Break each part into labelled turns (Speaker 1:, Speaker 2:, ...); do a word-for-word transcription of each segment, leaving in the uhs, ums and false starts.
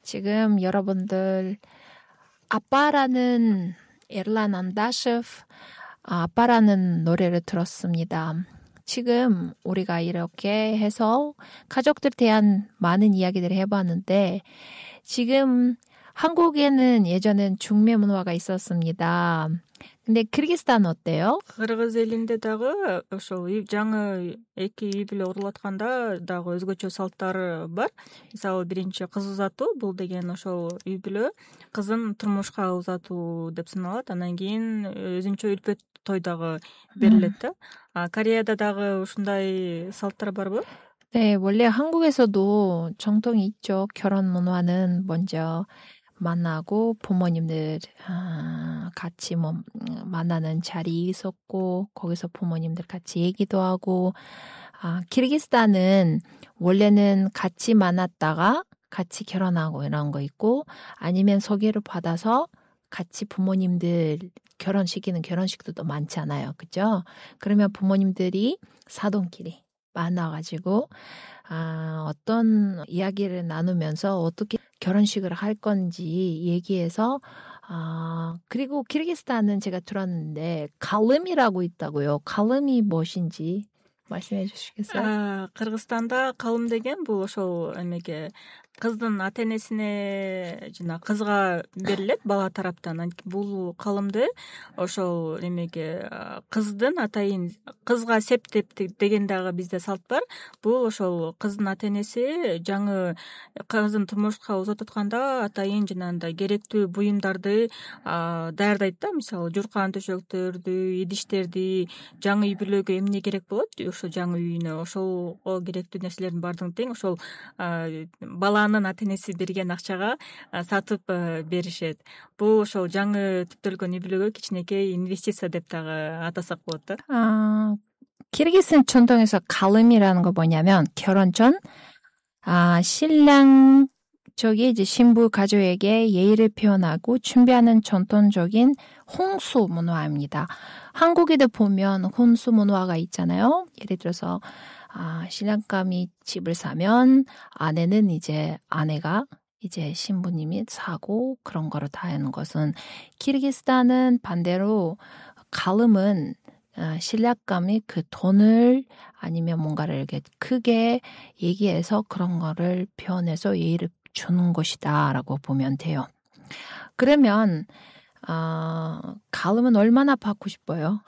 Speaker 1: 지금 여러분들 아빠라는 에르란 안다셰프 아빠라는 노래를 들었습니다. 지금 우리가 이렇게 해서 가족들에 대한 많은 이야기들을 해봤는데 지금 한국에는 예전엔 중매 문화가 있었습니다. 근데 키르기스탄 어때요?
Speaker 2: Кыргыз элинде дагы ошол жаңы эки үй бүлө урулатканда дагы өзгөчө салттары бар. Мисалы биринчи кыз узатуу, бул деген ошол үй бүлө кызын турмушка узатуу деп саналат. Анан кийин өзүнчө үлпөт той дагы берилет да. А Кореяда дагы ушундай салттар барбы?
Speaker 1: 네, 원래 한국에서도 정통이 있죠. 결혼 문화는 먼저 만나고 부모님들 아, 같이 뭐 만나는 자리 있었고 거기서 부모님들 같이 얘기도 하고 아, 키르기스탄은 원래는 같이 만났다가 같이 결혼하고 이런 거 있고 아니면 소개를 받아서 같이 부모님들 결혼시키는 결혼식도 많잖아요. 그죠? 그러면 부모님들이 사돈끼리 만나가지고 아, 어떤 이야기를 나누면서 어떻게 결혼식을 할 건지 얘기해서 아, 그리고 키르기스탄은 제가 들었는데 칼름이라고 있다고요. 칼름이 무엇인지 말씀해 주시겠어요?
Speaker 2: 아, Кыргызстанда калым деген бул ошол эмеге кыздын ата энесине жана кызга берилет бала тараптан. Бул калымды ошол эмеге кыздын атайын кызга септеп деген дагы бизде салт бар. Бул ошол кыздын ата энеси жаңы кызын турмушка узатып атканда атайын жанагындай керектүү буюмдарды даярдайт да. Мисалы журкан төшөктөрдү, идиштерди, жаңы үй бүлөгө эмне керек болот, ошо жаңы үйүнө ошолго керектүү нерселердин баардыгын тең ошол баланын ата энеси берген акчага сатып беришет. Бул ошол жаңы түптөлгөн үй бүлөгө кичинекей инвестиция деп дагы атасак болот да.
Speaker 1: 아, 키르기스탄 전통에서 칼름이라는 거 뭐냐면 결혼 전 아, 신랑 쪽이 이제 신부 가족에게 예의를 표현하고 준비하는 전통적인 홍수 문화입니다. 한국에도 보면 혼수 문화가 있잖아요. 예를 들어서 아, 신랑감이 집을 사면 아내는 이제 아내가 이제 신부님이 사고 그런 거를 다 하는 것은 키르기스탄은 반대로 칼름은 아, 신랑감이 그 돈을 아니면 뭔가를 이렇게 크게 얘기해서 그런 거를 표현해서 예의를 주는 것이다라고 보면 돼요. 그러면 아, 칼름은 얼마나 받고 싶어요?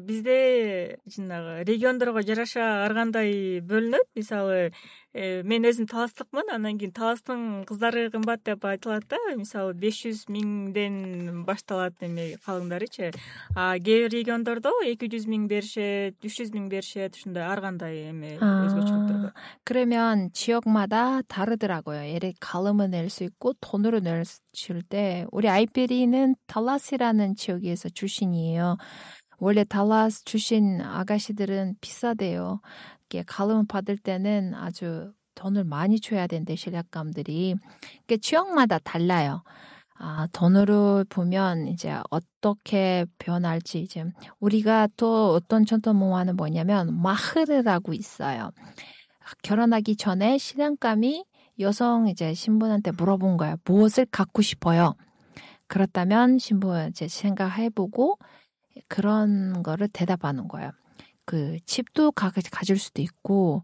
Speaker 2: Бизде жанагы региондорго жараша ар кандай бөлүнөт. Мисалы, мен өзүм таластыкмын, анан кийин таластын кыздары кымбат деп айтылат да. Мисалы, беш жүз миңден башталат эме калыңдарычы. А кээ бир региондордо эки жүз миң беришет, үч жүз миң беришет, ушундай ар кандай эме өзгөчөлүктөр бар.
Speaker 1: 그러면 지역마다 다르더라고요. 예를 칼름을 낼 수 있고 돈으로 낼 때 우리 아이페리는 달라스라는 지역에서 출신이에요. 원래 달라스 출신 아가씨들은 비싸대요. 칼름 받을 때는 아주 돈을 많이 줘야 된대, 신랑감들이. 그러니까 지역마다 달라요. 아, 돈으로 보면 이제 어떻게 변할지 이제 우리가 또 어떤 전통 문화는 뭐냐면 마흐르라고 있어요. 결혼하기 전에 신랑감이 여성 이제 신부한테 물어본 거예요. 무엇을 갖고 싶어요? 그렇다면 신부 이제 생각해보고 그런 거를 대답하는 거예요. 그 집도 가, 가질 수도 있고